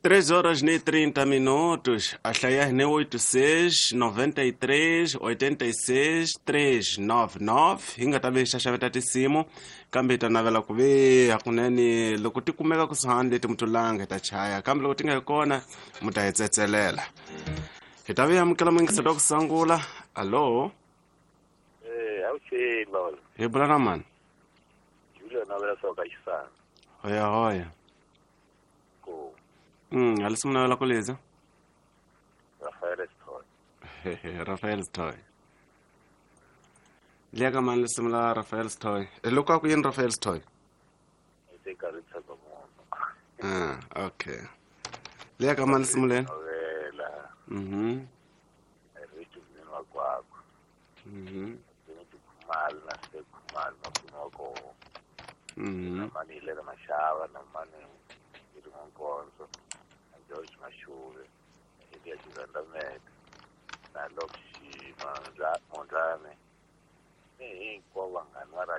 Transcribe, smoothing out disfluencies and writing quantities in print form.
3 horas ni 30 minutos. A hlaya ni 86 93 86 399. Hi nga ta ve hi xaxameta tinsimu, kambe hi ta navela ku ve hakunene loko ti kumeka kusuhani leti mutulanga hi ta chaya, kambe loko ti nga yi kona mu ta hi tsetselela. Hi ta ve hi amukela muyingiseri wa ku sungula. Alo? Eh, avuxeni baba. Hi bula na mani? Julia navela swa ka xisana. Hoya hoya. Ko Halisi mu navela ku liza? Rafael Stoy. Rafael Stoy. Liya ka mani lisimu la Rafael Stoy? Loko a ku yini Rafael Stoy? Ete karhi tshemba munhu. Ah, okay. Liya ka mani lisimu leni? Navela. Ritu mnene wa kwakho. Timothy Khumalo na Spe Khumalo makume wa koho. Na mani Hilela Mashava na mani Irimo Nkonzo na George Mashuve na Elias Zandamela na Lokshi Mondlane ni hinkwavo vanghana va radio.